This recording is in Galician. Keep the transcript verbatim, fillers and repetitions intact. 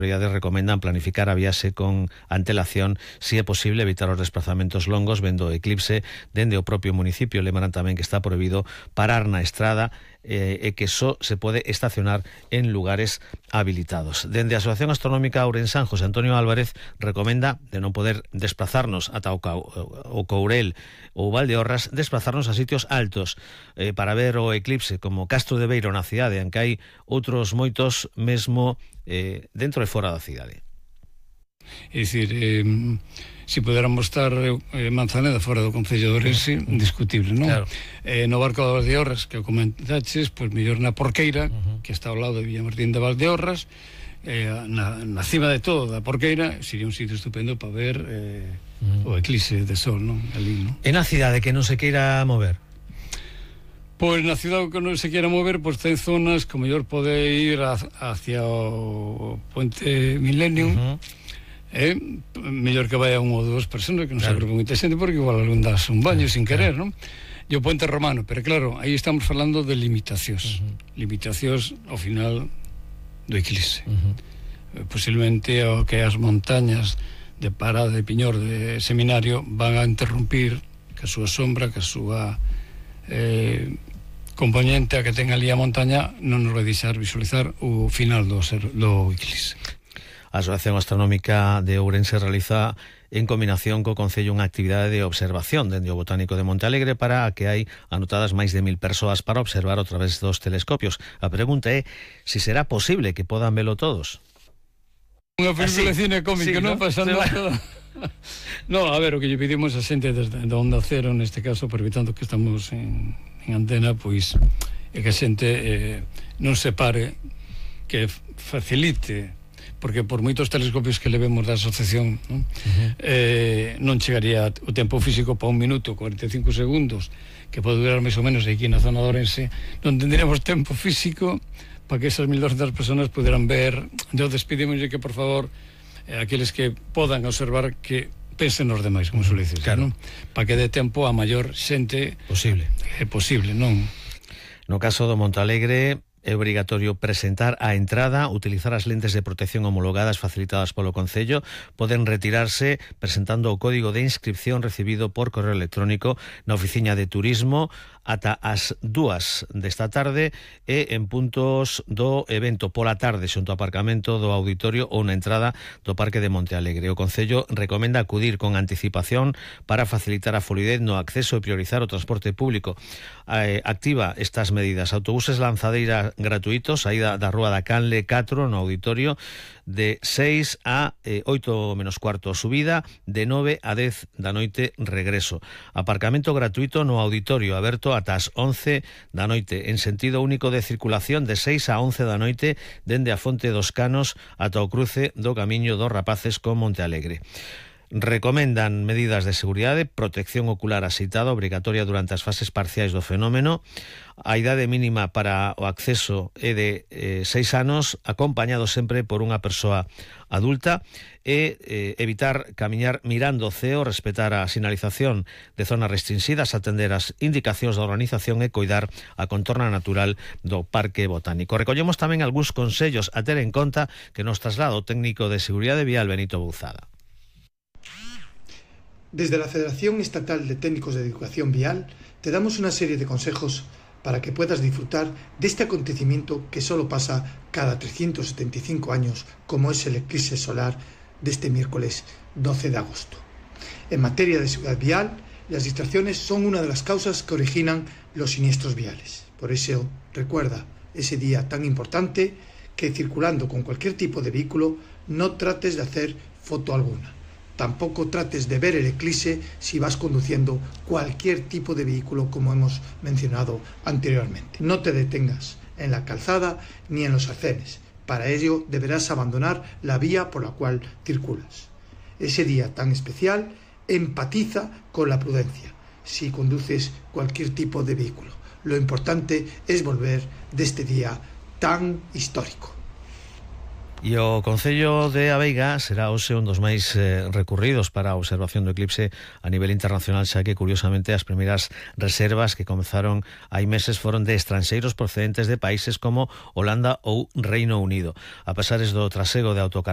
autoridades recomendan planificar a viaxe con antelación, se é posible evitar os desplazamentos longos vendo o eclipse dende o propio municipio. Lembran tamén que está prohibido parar na estrada eh, e que só se pode estacionar en lugares habilitados. Dende a Asociación Astronómica Ourensán, José Antonio Álvarez recomenda, de non poder desplazarnos ata o, Cau, o Courel ou Valdeorras, desplazarnos a sitios altos eh, para ver o eclipse, como Castro de Beiro na cidade, en que hai outros moitos mesmo eh, dentro e fora da cidade. É dicir, eh, se podéramos estar eh, Manzaneda fora do Concello de Ourense, indiscutible, non? Claro. Eh, no Barco de Valdeorras, que o comentaches, pois mellor na Porqueira, uh-huh. que está ao lado de Villamartín de Valdeorras, eh, na, na cima de todo da Porqueira, sería un sitio estupendo para ver eh, uh-huh. o eclipse de sol, non? Ali, non? E na cidade que non se queira mover? Pois na cidade que non se queira mover, pois ten zonas que o mellor pode ir a, hacia o Puente Millennium, uh-huh. É mellor que vaya unha ou dúas personas, que non claro. se agrupe moita xente, porque igual algún das un baño claro. sin querer, non? E o Puente Romano, pero claro, aí estamos falando de limitacións, uh-huh. limitacións ao final do eclipse. Uh-huh. Posiblemente o que as montañas de Parada de Piñor de Seminario van a interrumpir que a súa sombra, que a súa eh, componente a que ten ali a montaña non nos vai deixar visualizar o final do, ser, do eclipse. A Asociación Astronómica de Ourense realiza en combinación co Concello unha actividade de observación dende o Botánico de Montealegre para a que hai anotadas máis de mil persoas para observar a través dos telescopios. A pregunta é se si será posible que podan velo todos. Unha película de cine cómica, sí, non? Pasando toda... No, a ver, o que lle pedimos a xente desde da Onda Cero, neste caso, aproveitando que estamos en, en antena, pois é que a xente eh, non se pare, que facilite, porque por moitos telescopios que levemos da asociación non, uh-huh. eh, non chegaría o tempo físico para un minuto, cuarenta e cinco segundos, que pode durar máis ou menos aquí na zona de Ourense, non tendríamos tempo físico para que esas mil doscientas personas puderan ver. Entón, despedimoslle que, por favor, eh, aqueles que podan observar, que pensen nos demais, como suele dicir, claro. non? Para que dé tempo a maior xente posible. É eh, posible, non? No caso do Montealegre, é obrigatorio presentar a entrada, utilizar as lentes de protección homologadas facilitadas polo Concello, poden retirarse presentando o código de inscripción recibido por correo electrónico na oficina de turismo ata as dúas desta tarde e en puntos do evento pola tarde xunto ao aparcamento do auditorio ou na entrada do Parque de Montealegre. O Concello recomenda acudir con anticipación para facilitar a fluidez no acceso e priorizar o transporte público. Eh, activa estas medidas: autobuses lanzadeira gratuitos, saída da Rúa da Canle catro no auditorio de seis a oito menos cuarto subida, de nove a dez da noite regreso. Aparcamento gratuito no auditorio, aberto ata as once da noite, en sentido único de circulación de seis a once da noite, dende a Fonte dos Canos ata o cruce do Camiño dos Rapaces con Montealegre. Recomendan medidas de seguridade, protección ocular axeitada obrigatoria durante as fases parciais do fenómeno. A idade mínima para o acceso é de eh, seis anos, acompañado sempre por unha persoa adulta, e eh, evitar camiñar mirando o ceo, respetar a sinalización de zonas restringidas, atender as indicacións da organización e coidar a contorna natural do Parque Botánico. Recollemos tamén algúns consellos a ter en conta que nos traslada o técnico de seguridade vial Benito Bouzada. Desde la Federación Estatal de Técnicos de Educación Vial te damos una serie de consejos para que puedas disfrutar de este acontecimiento que solo pasa cada trescientos setenta y cinco años, como es el eclipse solar de este miércoles doce de agosto. En materia de seguridad vial, las distracciones son una de las causas que originan los siniestros viales. Por eso, recuerda ese día tan importante que circulando con cualquier tipo de vehículo no trates de hacer foto alguna. Tampoco trates de ver el eclipse si vas conduciendo cualquier tipo de vehículo, como hemos mencionado anteriormente. No te detengas en la calzada ni en los arcenes. Para ello deberás abandonar la vía por la cual circulas. Ese día tan especial, empatiza con la prudencia si conduces cualquier tipo de vehículo. Lo importante es volver de este día tan histórico. E o Concello de Abeiga será hoxe un dos máis eh, recurridos para a observación do eclipse a nivel internacional, xa que, curiosamente, as primeiras reservas que comezaron hai meses foron de estranxeiros procedentes de países como Holanda ou Reino Unido. A pesares do trasego de autocaravanas